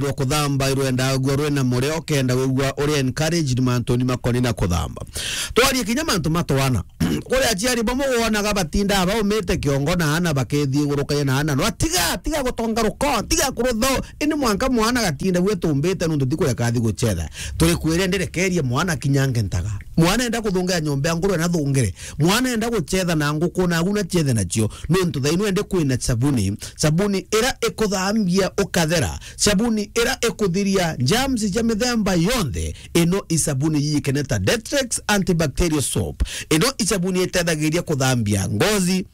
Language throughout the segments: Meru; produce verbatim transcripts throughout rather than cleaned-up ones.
rwa kuthamba irwenda gua rwina murio, kenda wigua uri encouraged mantuni makoni na kuthamba. Twarie kinya mantu ma twana. Kuri aciari bamwe wonaga batindaa baumite kiongo na ana bakethiurukagia na ana. No, tiga, tiga gutonga ruko, tiga kurutho. Ini mwanka mwana gatinda gwe tumbite nuntu ti kuria kathi gucetha. Turi kwire ndirekerie mwana kinyange ntaga. Mwana enda kuthungea nyomba ya ngurwe na thungire. Mwana enda gucetha na nguku na aguna cethe nacio. Nuntu thaino ende kwina sabuni. Sabuni ira ikuthambia ukathera. Sabuni ira ikuthiria germs cia mithemba yonthe. Ino i sabuni yiyikene ta Detrex antibacterial soap. Ino i sabuni itethagiria kuthambia ngozi,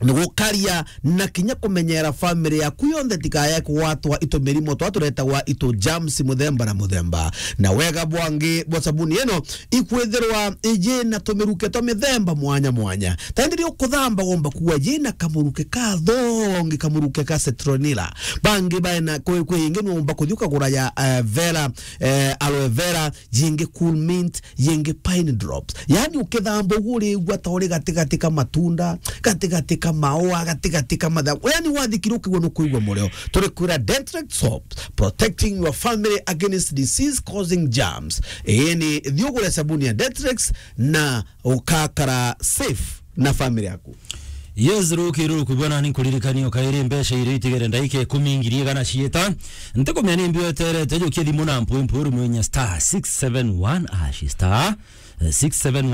ni gukaria na kinya kumenyera family yaku yonthe tikaye kugwatwa itu mirimo twa turetagwa itu germs muthemba na muthemba. Na wega bwangi bwa sabuni ino ikwithirwa iji na tumiruke twa mithemba mwanya mwanya. Taindi ri ukuthamba gomba kuwa jina kamuruke ka thongi, kamuruke ka citronella. Bangi baena kwi, kwi ingi nuumba kuthi ukagura ya, eh, vera, eh, aloe vera, jingi cool mint, jingi pine drops. Yani ukithamba uguo urigua ta uri gatigati ka matunda, gatigati ka maua, gatigati ka matha. Yani wathikira ukigua nukuigua murio. Turi kwira Detrex soap, protecting your family against disease causing germs. Ii ni thi ugure sabuni ya Detrex na ukakara safe na family yaku. Yes, ruki ruku bwana, ni nkuririkania ukairi mbeca iria itigere ndaika ikumi ngiri igana ciita. Ntikumenya ni mbio eterete, jukia thimu na mpwi mpwi rumenya star six seven one hash star, eh, six seven